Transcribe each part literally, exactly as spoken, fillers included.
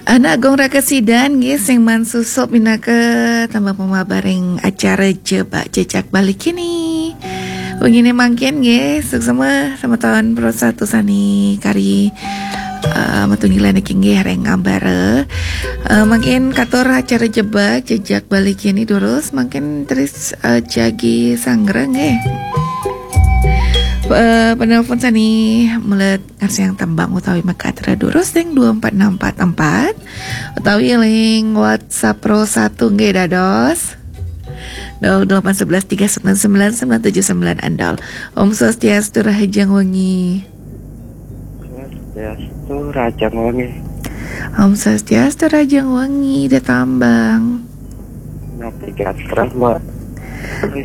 Anak Agung Raka Sidan nggih sing mansusup minangka tembang pemabar ring acara Jebak Jejak Bali kini. Wengine mangkin nggih, suksma semeton Pro satu sane kari, eh, matunggilan niki nggih ring ambara. Eh, mangkin katur acara Jebak Jejak Bali kini durus, mangkin terus, eh, jagi sanggra nggih. Eh, penelpon sane melet ngarsiang tembang utawi magatra durus ring dua empat enam empat empat utawi ring WhatsApp Pro satu nggih dados nol delapan sebelas tiga sembilan sembilan sembilan tujuh sembilan andol. Om Swastiastu, rahajeng wengi. Swastiastu, rahajeng wengi. Om Swastiastu, rahajeng wengi, Ida Tambang. Napi gatra, Mbok?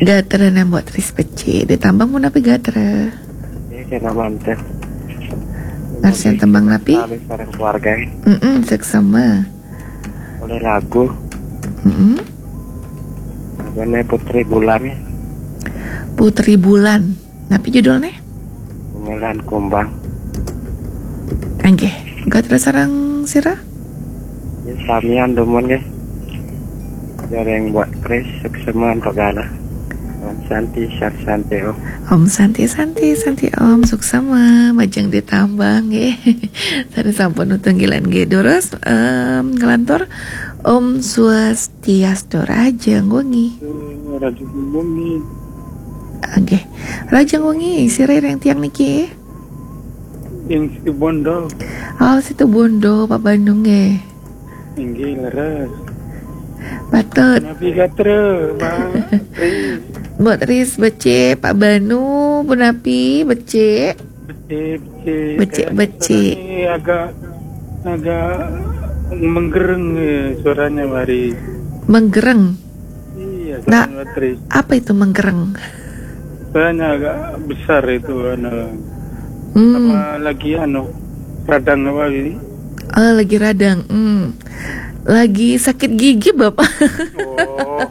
Gatra nang Mbok Tris becik. Ida Tambang pun napi gatra? Ini kena mantes. Ngarsiang tembang napi? Kami sareng keluarga. Mm-mm, seksama. Oleh lagu. Mm-mm. Lagune Putri Bulan. Putri Bulan. Napi judulne? Pemilan Kumbang. Nggih, gatra sareng sira? Ya, samian dumun nggih. Sareng Mbok Tris, suksma antuk galah. Om Santi, Santi, Santi, Om. Om Santi, Santi, Santi, Om. Suksma, majeng Ida Tambang nggih. Sane sampun matunggilan nggih. Durus, em, nglantur. Om Swastiastu, rahajeng wengi. Rahajeng wengi. Nggih. Rahajeng wengi, sira ring tiang niki? Ing Situbondo. Oh, Situbondo, Pak Banu nggih. Inggih, leres. Patut. Napi gatra, Mbok Tris? Mbok Tris becik, Pak Banu punapi becik? Becik, becik. Becik, becik. Suaranya agak, agak menggereng, eh, suaranya, Mbok Tris. Menggereng? Iya, Nah, Mbok Tris. Apa itu menggereng? Suaranya agak besar itu, anu. Hmm. Apa lagi, anu, radang apa ini? Oh, lagi radang. Hmm. Lagi sakit gigi, Bapak. Oh.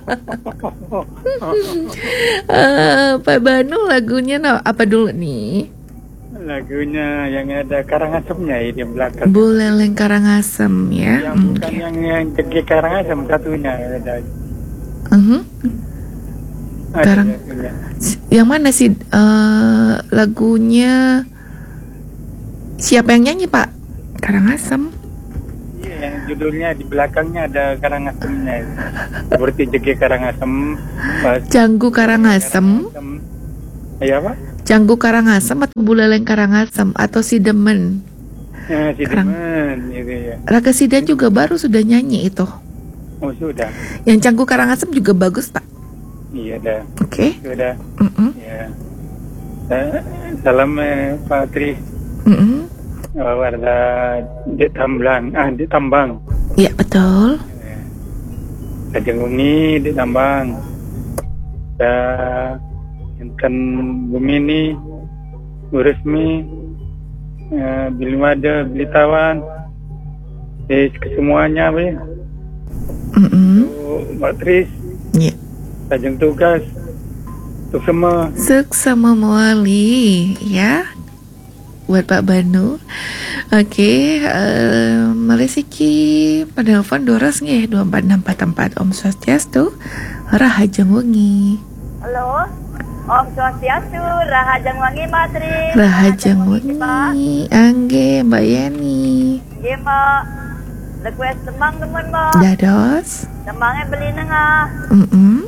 Eh, Pak Banu, lagunya na-, apa dulu nih? Lagunya yang ada Karangasemnya ini di belakang. Buleleng Karangasem ya. Yang bukan Oke. yang, yang Jege Karangasem satunya ada. Mhm. Ada Karang- lagunya. S-, yang mana sih, eh, lagunya? Siapa yang nyanyi, Pak? Karangasem. Iya, yang judulnya di belakangnya ada Karangasemnya. Seperti Jege Karangasem. Pas Canggu Karangasem. Karangasem. Iya, Pak? Canggu Karangasem atau Buleleng Karangasem atau Sidemen? Ya, Karang- Sidemen, gitu ya. Raka Sidan juga baru sudah nyanyi itu. Oh, sudah. Yang Canggu Karangasem juga bagus, Pak. Iya, dah. Oke. Sudah. Mm-mm. Ya. Eh, salam, eh, Pak Tri. Mm-mm. Eh, warga Ida Tambang, ah, Ida Tambang. Iya, betul. Rahajeng wengi, Ida Tambang. Dah, enten Bumini, Bu Resmi, eh, Bili Mada, Bili Tawan, eh, kesemuanya, Bli. Mm-mm. Untuk Mbok Tris. Iya. Rahajeng tugas. Suksma. Suksma mawali, ya. Buat Pak Banu. Oke, eh, malih siki penelpon durus nggih, dua empat enam empat empat. Om Swastiastu. Rahajeng wengi. Halo. Om Swastiastu, rahajeng wengi, Mbok Tri. Rahajeng wengi. Nggih, Mbok Yeni. Nggih, Mbok. Request tembang dumun, Mbok. Dados. Tembangnya Beli Nengah. Mm-mm.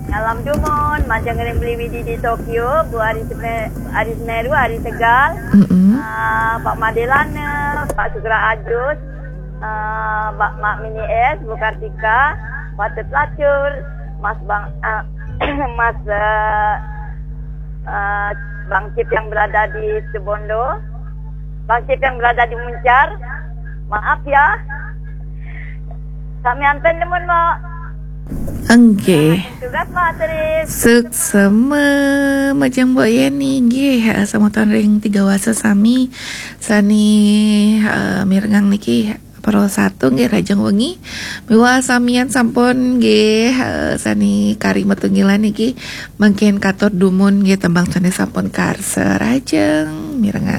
Salam dumun, majeng ring Beli Widi di Tokyo, Bu Ari Seme-, Ari Semeru, Ari Tegal. Mm-mm. Ah, Pak Madelana, Pak Sugra Ajus, ah, Mbak Mak Mini S, Bu Kartika, Patut Lacur, Mas Bang, ah, Mas, eh, eh, Bang Cip yang berada di Situbondo, Bang Cip yang berada di Muncar, maaf ya, sami anten dumun, Mbok. Nggih. Tugas, Mbok Tri. Suksma, majeng Mbok Yeni, nggih, semeton ring Tiga Wasa sami, sane, eh, mirengang niki. Pro satu nggih, rahajeng wengi. Miwah samian sampun nggih, eh, sane kari matunggilan niki. Mangkin katur dumun nggih tembang sane sampun karsa, rahajeng mirengang.